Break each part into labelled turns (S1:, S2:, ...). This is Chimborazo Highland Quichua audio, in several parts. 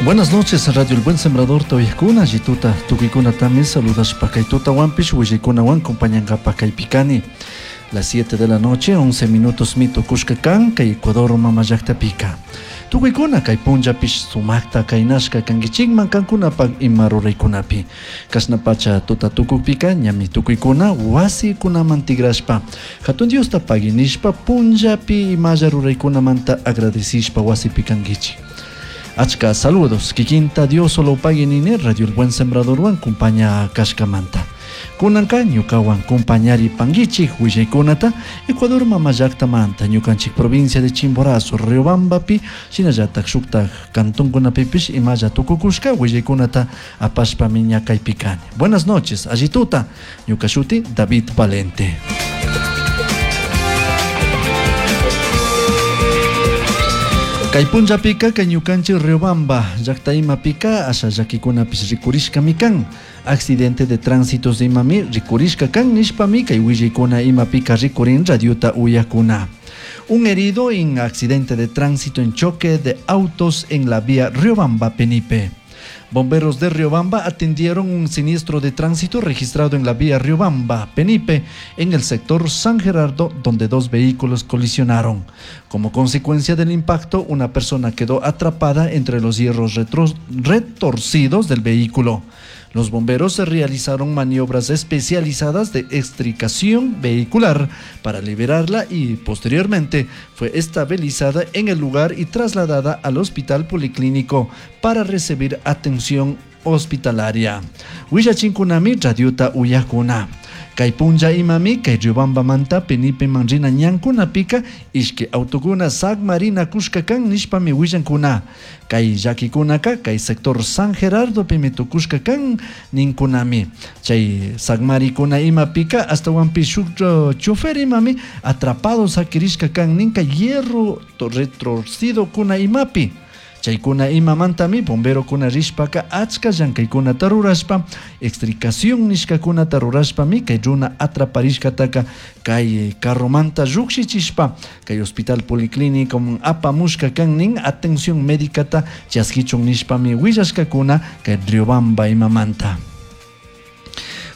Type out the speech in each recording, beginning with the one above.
S1: Buenas noches, Radio El Buen Sembrador uyajkuna, allituta tukuykunatami saludashpa kay tutawanpish willaykunawan compañankapak kaypi kani. Las 7 de la noche, 11 minutos mi tukushka kan kay Ecuador mama llaktapika. Tukuykuna kay punllapish sumakta kaynashka kankichikman kankunapak ima ruraykunapi. Kashna pacha tuta tukukpika ñami tukuykuna wasikunaman tigrashpa Hatun Diosta pagui nishpa punllapi imalla ruraykunamanta agradecishpa wasipi kankichik. Achka saludos kikinta Dios solo pagui nini Radio El Buen Sembradorwan kumpaña kashkamanta. Kunanka ñukawan kumpañari pankichik willaykunata Ecuador mama llaktamanta ñukanchik provincia de Chimborazo, Riobambapi shinallatak shuktak kantunkunapipish imalla tukukushka willaykunata apashpami ña kaypi kani. Buenas noches, allituta, ñuka shuti David Valente. Kay punllapika kay ñukanchik Riobamba llakta imapika asha llakikunapish rikurishkami kan. Accidente de tránsito imami rikurishka kan nishpami kay willaykuna imapika rikurin radiota uyakuna. Un herido en accidente de tránsito en choque de autos en la vía Riobamba-Penipe. Bomberos de Riobamba atendieron un siniestro de tránsito registrado en la vía Riobamba-Penipe, en el sector San Gerardo, donde dos vehículos colisionaron. Como consecuencia del impacto, una persona quedó atrapada entre los hierros retorcidos del vehículo. Los bomberos realizaron maniobras especializadas de extricación vehicular para liberarla y posteriormente fue estabilizada en el lugar y trasladada al hospital policlínico para recibir atención hospitalaria. Willachinkunami radiota uyakuna. Kay punlla imami kay Riobambamanta Penipe manrina ñankunapika ishki autokuna sakmarina kushka kan nishpami willankuna. Kay llakikunaka kay sector San Gerardo pimi tukushka kan ninkunami. Chay sakmarikuna imapika astawanpish shuk chofer imami atrapado sakirishka kan ninka hierro retorcido kuna imapi. Chaykuna imamantami bomberokuna rishpaka achka llankaykunata rurashpa extricación nishkakunata rurashpami kay runa atraparishkataka kay carromanta llukshichishpa kay hospital policlínico apamushka kan nin atención médicata chaskichun nishpami willashkakuna kay Riobamba imamanta.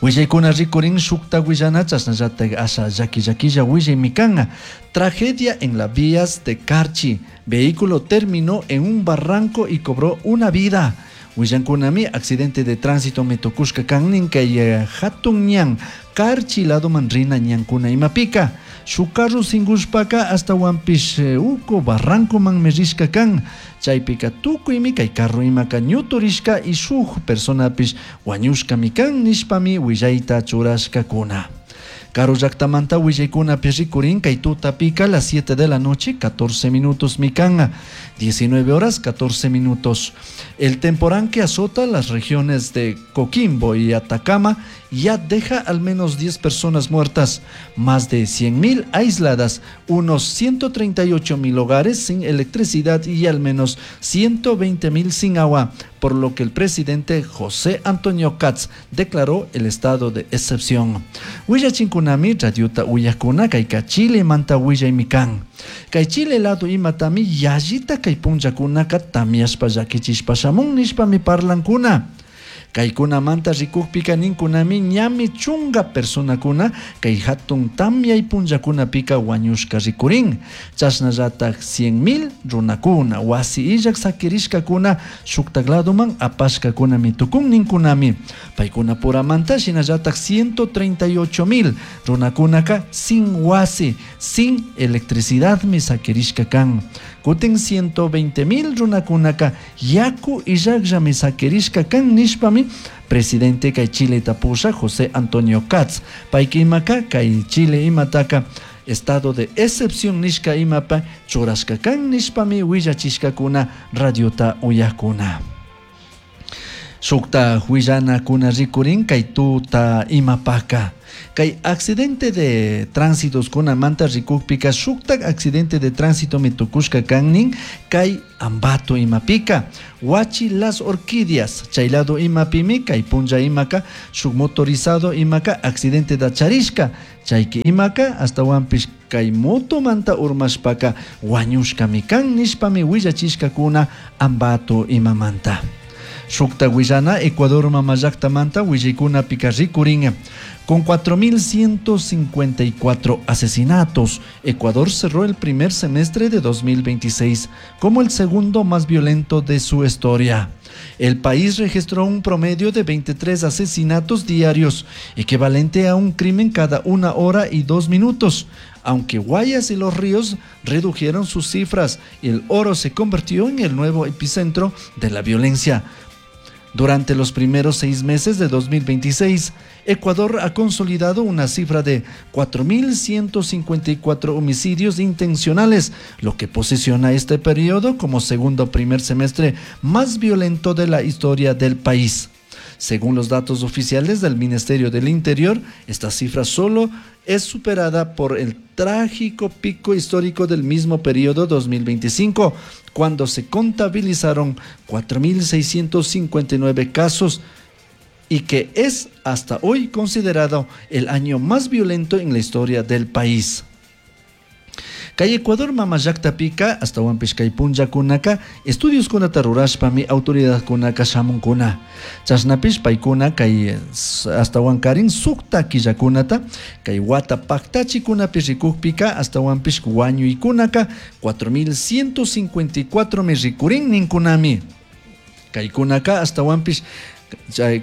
S1: Willaykuna rikurin shukta willana chasnallatak asha llaki llakilla willaymi kan. Tragedia en las vías de Carchi. Vehículo terminó en un barranco y cobró una vida. Willankunami accidente de tránsito me tukushka kan nin kay hatun ñan Carchi lado manrina ñankuna imapika. Shuk carro singushpaka astawanpish uku barranco man rishka kan. Chaypika tukuymi kay carro imaka ñuturishka y shuk personapish wañushkami kan nishpami willayta churashkakuna. Karu llaktamanta willaykunapi rikurin kay tutapika las 7 de la noche, 14 minutos mikan, 19 horas 14 minutos. El temporal que azota las regiones de Coquimbo y Atacama ya deja al menos 10 personas muertas, más de 100.000 aisladas, unos 138.000 hogares sin electricidad y al menos 120.000 sin agua, por lo que el presidente José Antonio Kast declaró el estado de excepción. Willachinkunami radiota uyakuna kayka Chile manta willaymi kan. Kay Chile lado imatami yallita kay punllakunaka tamyashpa llakichishpa shamun nishpami parlankuna. Kaykunamanta rikukpika ninkunami ñami chunga personakuna kay hatun tamyay punllakunapika wañushka rikurin. Chashnallatak 100.000 runakuna wasi illak sakirishkakuna shuktak ladoman apashkakunami tukun ninkunami. Paykunapuramanta shinallatak 138.000 runakunaka sin wasi, sin electricidadmi sakirishka kan. Kutin 120.000 runakunaka yaku illakllami sakirishka kan nishpami presidente kay Chile tapusha José Antonio Kast. Payka imaka kay Chile imataka estado de excepción nishka imapa churashka kan nishpami willachishkakuna radiota uyakuna. Shukta huillanakuna rikurin kay tuta imapaka. Kay accidente de tránsito kunamanta rikukpika shuktak accidente de tránsito mi tukushka kannin kay Ambato imapika. Huachi Las Orquídeas chay lado imapimi kay punlla imaka shuk motorizado imaka accidente da charishka chayki imaka astawanpish kay motomanta urmashpaka wañushkami kan nishpami willachishkakuna Ambato imamanta. Shukta willana Ecuador mamallaktamanta willaykunapika rikurin. Con 4.154 asesinatos, Ecuador cerró el primer semestre de 2026 como el segundo más violento de su historia. El país registró un promedio de 23 asesinatos diarios, equivalente a un crimen cada 1 hora y 2 minutos. Aunque Guayas y Los Ríos redujeron sus cifras, el Oro se convirtió en el nuevo epicentro de la violencia. Durante los primeros 6 meses de 2026, Ecuador ha consolidado una cifra de 4.154 homicidios intencionales, lo que posiciona este periodo como segundo primer semestre más violento de la historia del país. Según los datos oficiales del Ministerio del Interior, esta cifra solo es superada por el trágico pico histórico del mismo periodo 2025, cuando se contabilizaron 4.659 casos y que es hasta hoy considerado el año más violento en la historia del país. Kay Ecuador mamallakta-pika astawanpish kay punllakunaka estudios kunata rurashpami autoridadkunaka shamunkuna. Chashnapish paykuna kay astawankarin sukta killakunata kay wata paktachikunapi rikukpika astawanpish wañuykunaka 4.154 mi rikurin ninkunami. Kaykunaka astawanpish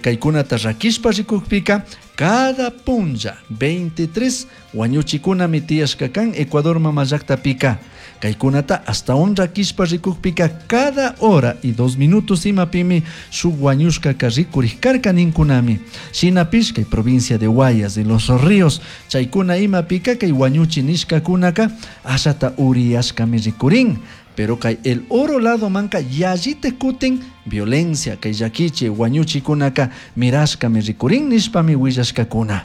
S1: kaykunata rakishpa rikukpika cada punlla 23 wañuchikunami tiyashka kan Ecuador mamallakta-pika. Kaykunata astawan rakishpa rikukpika cada hora y 2 minutos imapimi shuk wañushkaka rikurishkarka ninkunami. Shinapish kay provincia de Guayas de Los Ríos chaykuna imapika kay wañuchi nishkakunaka ashata uriyashkami rikurin. Pero kay El Oro lado manka yallite kutin violencia kay llakichi wañuchikunaka mirashkami rikurin nishpami willashkakuna.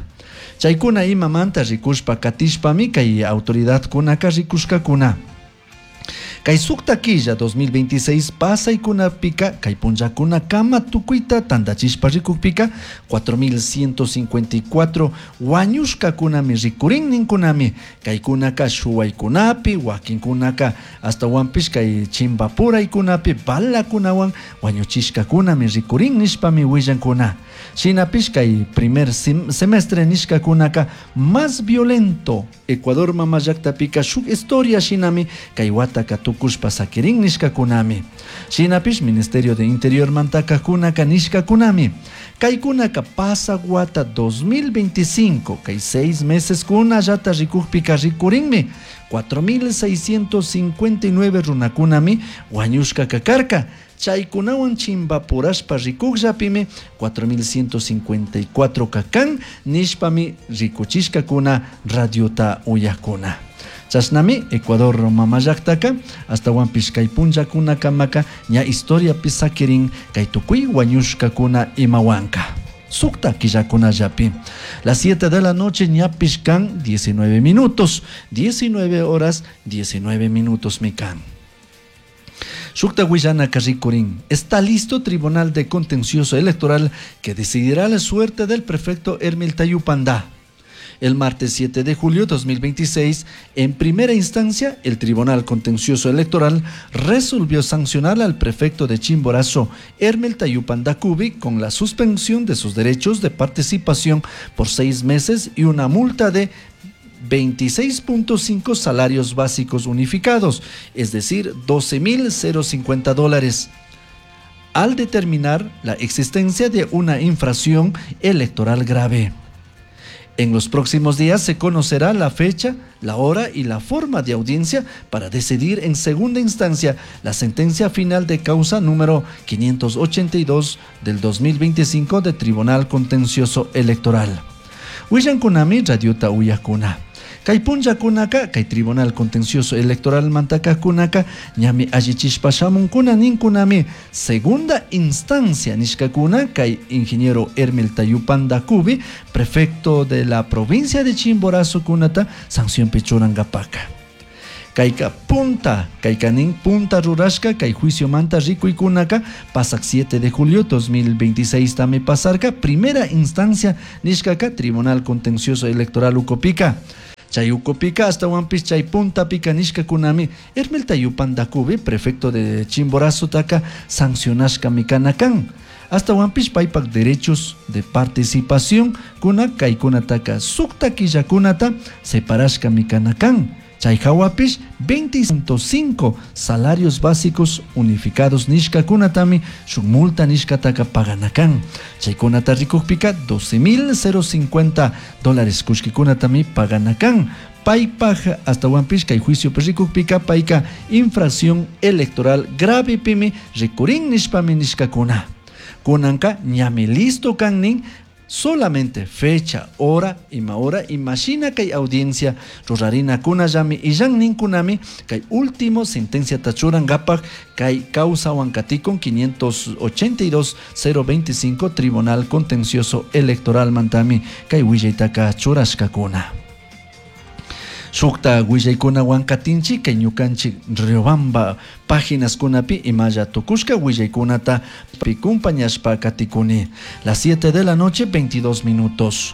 S1: Chaykuna imamanta rikushpa katishpami kay autoridadkunaka rikushkakuna. Kay sukta killa 2026 pasaykunapika kay punllakuna kama tukuyta tandachishpa rikukpika 4.154 wañushkakunami rikurin ninkunami. Kaykunaka shuwaykunapi, wakinkunaka astawanpish kay chimbapuraykunapi balakunawan wañuchishkakunami rikurin nishpami willankuna. Shinapish kay primer semestre nishkakunaka más violento Ecuador mamallaktapika shuk historia shinami kay wataka tukushpa sakirin nishkakunami. Shinapish Ministerio de Interior mantakakunaka nishkakunami. Kaykunaka pasa wata 2025 kay 6 meses kunallata rikukpika rikurinmi 4.659 runakunami wañushkaka karka. Chaykunawan chimbapurashpa rikukllapimi 4.154 kakan nishpami rikuchishkakuna radiota uyakuna. Chashnami Ecuador mamallaktaka astawanpish kay punllakunakamaka ña historiapi sakirin kay tukuy wañushkakuna imawanka. Sukta killakunallapi. Las 7 de la noche ñapish kan 19 minutos, 19 horas 19 minutos mikan. Shukta willana rikurin. Está listo Tribunal de Contencioso Electoral que decidirá la suerte del prefecto Hermel Tayupandá. El martes 7 de julio 2026, en primera instancia, el Tribunal Contencioso Electoral resolvió sancionar al prefecto de Chimborazo, Hermel Tayupandá Cubi, con la suspensión de sus derechos de participación por 6 meses y una multa de 26.5 salarios básicos unificados, es decir, doce mil cero cincuenta dólares, al determinar la existencia de una infracción electoral grave. En los próximos días se conocerá la fecha, la hora y la forma de audiencia para decidir en segunda instancia la sentencia final de causa número 582 del 2025 de Tribunal Contencioso Electoral. Willan kunami radiota uyakuna. Kay punllakunaka kay Tribunal Contencioso Electoral mantakajkunaka ñami allichishpa shamunkuna ninkunami segunda instancia nishkakuna kay ingeniero Hermel Tayupanda Cubi, prefecto de la provincia de Chimborazo kunata sancionpi churankapaka. Kayka punta, kayka nin punta rurashka kay juiciomanta rikuykunaka pasak 7 de julio 2026 tami pasarka primera instancia nishkaka Tribunal Contencioso Electoral ukupika. Chay ukupika ashtawanpish chay puntapika nishkakunami Hermel Tayupanda Cubi, prefecto de Chimborazo taka sancionashkami kana kan. Ashtawanpish paypak derechos de participación kuna kaykunataka sukta killakunata separashkami kana kan. Chay hawapish 20.5 salarios básicos unificados nishkakunatami shuk multa nishkataka pagana kan. Chaykunata rikukpika 12.050 dólares kullkikunatami pagana kan. Paypaj ashtawanpish kay juicio rikukpika payka infracción electoral grave pimi rikurin nishpami nishkakuna. Kunanka ñami listo kan nin solamente fecha, hora, ima hora, imashina kay audiencia rurarina kunallami illan ninkunami kay último sentencia tachurankapak kay causa huancaticon 582-025 Tribunal Contencioso Electoral mantami kay willaytaka churashkakuna. Shukta willaykuna wankatinchik kay ñukanchik Riobamba páginas kunapi imalla tukushka willaykunata pikumpañashpa katikuni. Las 7 de la noche, 22 minutos.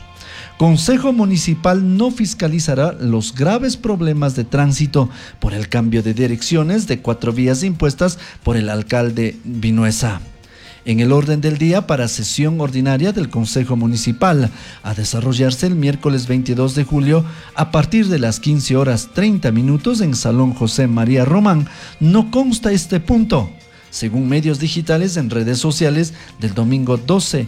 S1: Consejo Municipal no fiscalizará los graves problemas de tránsito por el cambio de direcciones de 4 vías impuestas por el alcalde Vinuesa. En el orden del día para sesión ordinaria del Consejo Municipal, a desarrollarse el miércoles 22 de julio a partir de las 15 horas 30 minutos en Salón José María Román, no consta este punto. Según medios digitales en redes sociales, del domingo 12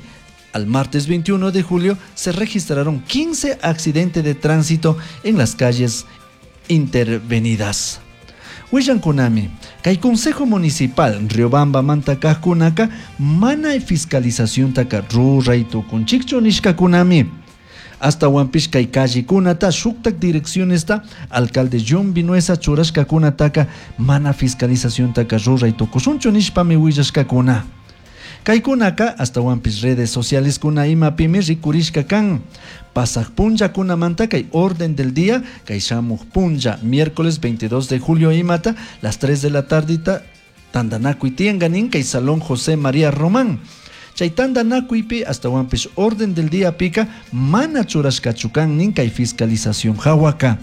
S1: al martes 21 de julio se registraron 15 accidentes de tránsito en las calles intervenidas. Willankunami, kay Consejo Municipal Riobamba mantakajkunaka mana fiscalización taka ruray tukunchikchu nishkakunami. Ashtawanpish kay callekunata shuktak direccionesta alcalde John Vinuesa churashkakunataka mana fiscalización taka ruray tukushunchu nishpami willashkakuna. Kaykunaka ashtawanpish redes sociales kuna imapimi rikurishka kan. Pasaj punllakunamanta kay orden del día kay shamuj punlla miércoles 22 de julio imata las 3 de la tardita tandanakuy tiyanganin kay Salón José María Román. Chay tandanakuypi ashtawanpish orden del día pika mana churashkachu kan nin kay fiscalización hawaka.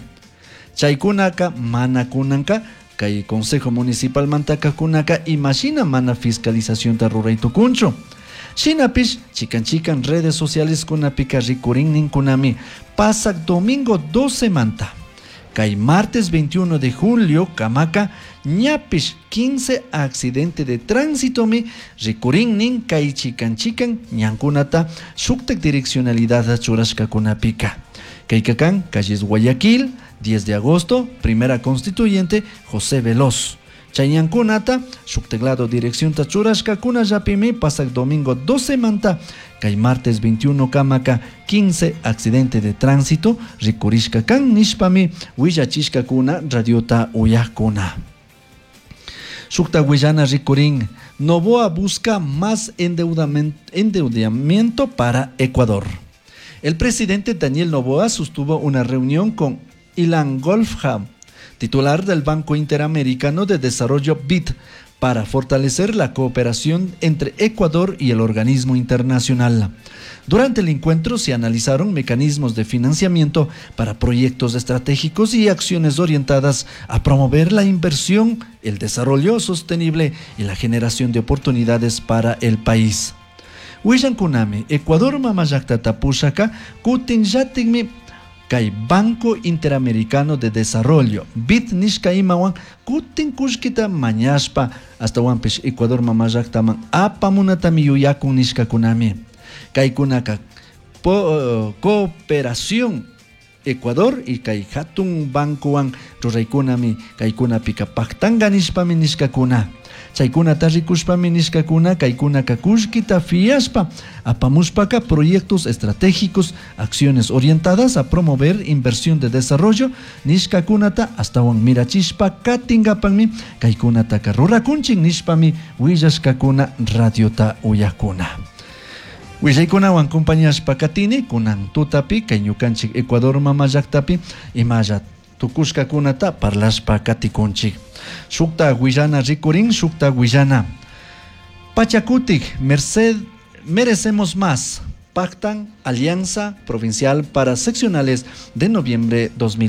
S1: Chaykunaka mana kunanka kay Consejo Municipal mantaka kunaka imashina mana fiscalización ta ruray tukunchu. Shinapish chikan chikan redes sociales kunapika rikurin ninkunami pasak domingo 12 manta. Kay martes 21 de julio kamaka ñapish 15 accidente de tránsito mi rikurin nin kay chikan chikan ñankunata shuktak direccionalidad churashka kunapika. Kay kakan calles Guayaquil 10 de agosto, primera constituyente José Veloz. Chayankunata, shukteglado dirección tachurashka kunallapimi pasak domingo 12 manta, kay martes 21 kamaka 15 accidente de tránsito rikurishka kan nishpami willachishka kuna radiota uyakuna. Shukta willana rikurin, Noboa busca más endeudamiento para Ecuador. El presidente Daniel Noboa sostuvo una reunión con Ilan Goldfajn, titular del Banco Interamericano de Desarrollo BID, para fortalecer la cooperación entre Ecuador y el organismo internacional. Durante el encuentro se analizaron mecanismos de financiamiento para proyectos estratégicos y acciones orientadas a promover la inversión, el desarrollo sostenible y la generación de oportunidades para el país. Willankunami, Ecuador mamallaqtata pushaka kutin llatikmi kay Banco Interamericano de Desarrollo, BID nishka imawan kutin kullkita mañashpa ashtawanpish Ecuador mamallaqtaman apamunatami yuyakun nishkakunami. Kaykunaka cooperación Ecuador y kay hatun bancowan ruraykunami kaykunapika pactanga nishpami nishkakuna. Chaykunata rikushpami nishkakuna kaykunaka kullkita fiashpa apamushpaka proyectos estratégicos, acciones orientadas a promover inversión de desarrollo nishkakunata ashtawan mirachishpa katingapakmi kaykunataka rurakunchik nishpami willashkakuna radiota uyakuna. Willaykunawan compañashpa katini kunan tutapi kay ñukanchik Ecuador mama llaktapi imalla tukushkakunata parlashpa katikunchik. Shukta willana rikurin, shukta willana. Pachakutik, Merced, merecemos más. Pactan Alianza Provincial para Seccionales de noviembre 2000.